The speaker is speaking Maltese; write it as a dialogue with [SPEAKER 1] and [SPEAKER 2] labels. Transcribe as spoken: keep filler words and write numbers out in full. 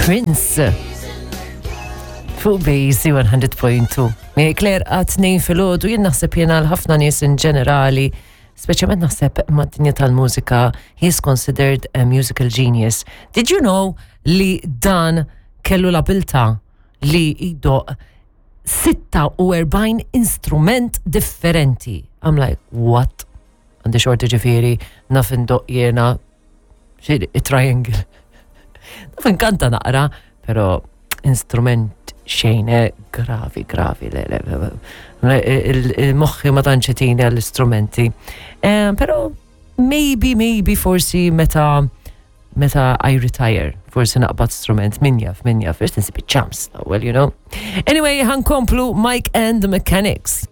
[SPEAKER 1] Prince. Fuq Base one hundred point two. Miegħi Claire għat-tnejn filgħodu. Jien naħseb jena l-ħafna nies in ġenerali, speċjalment naħseb mad-dinja tal-mużika, he is considered a musical genius. Did you know li dan kellu l-abilta li jdoqq sitta u erbgħin instrument differenti? I'm like, what? Għandi xorti ġifieri, naf indoqq jena xi triangle. Naf inkanta naqra, pero instrument xejn, eh, gravi, gravi, le, le, le, il-moħħi ma tantx itini għall-istrumenti. Eh, pero maybe, maybe forsi meta meta I retire, forsi naqbad strument, min jaf, min jaf, first nsib ċans, well, you know. Anyway, ħa nkomplu Mike and the Mechanics.